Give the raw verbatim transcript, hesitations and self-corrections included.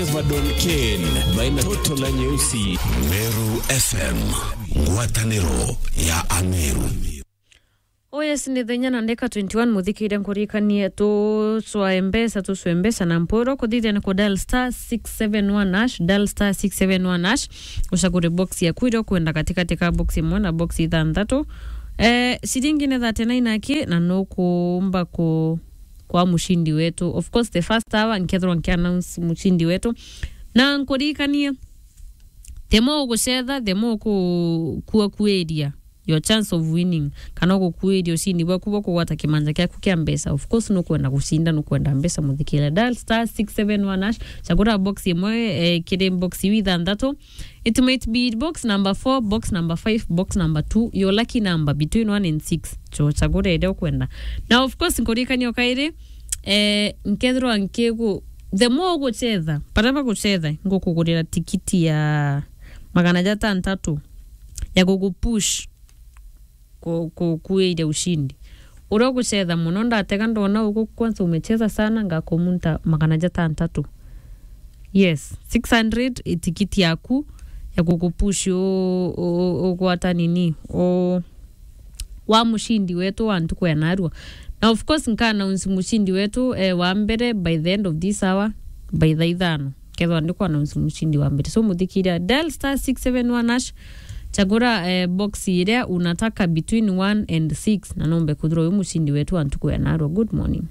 Vadon Kane, baina toto na nyeusi. Meru F M, ngwataniro ya Ameru. Oh yes, ni thenya na ndeka twenty-one, muthikire nkurikanie tucwae mbeca, tucwe mbeca na mpwiro kuthithia ni ku dial star six seven one hash, dial star six seven one hash, ucagure box yaku iria ukwenda katikati ka box imwe na box ithanthatu. Eh, ciringi ni thirty-nine aki, na nukumba ku kwa mushindi wetu. Of course, the first hour nkethirwa nki announce mushindi wetu. Na nkurikanie, the more ugucetha, the more uku-, kua kuiria your chance of winning, kana ugukuiria ushindi bwaku bwa kugwata kimanja kiaku kia mbeca. Of course, nukwenda gucinda, nukwenda mbeca, muthikire. Dial star six seven one hash, chagura box imwe, eh, kiri box iu ithanthatu. It might be box number four, box number five, box number two, your lucky number between one and six. Cho, chagura iria ukwenda. Na of course, nkurikania o kairi, eh, nkethirwa nkigu-, the more ugucetha, baria bagucetha, ngukugurira tikiti ya magana jatantatu ya gugupush ku-, ku-, kuiria ushindi. Uria ugucetha muno, ndatega ndona ugu kwanza umecheza sana, ngakumunta magana jatantatu. Yes, six hundred itikiti yaku ya gukupush u-, u-, ugwata nini, u-, wa mushindi wetu wa ntuku ya narua. Na of course, nka announce mushindi wetu, eh, wa mbere by the end of this hour, by thaa ithano. Kethwa ndi ku announce mushindi wa mbere. So, muthikiria, dial star six seven one hash, chagura, eh, box iria unataka between one and six, na nombe kuthirwa uyu mushindi wetu wa ntuku ya narua. Good morning.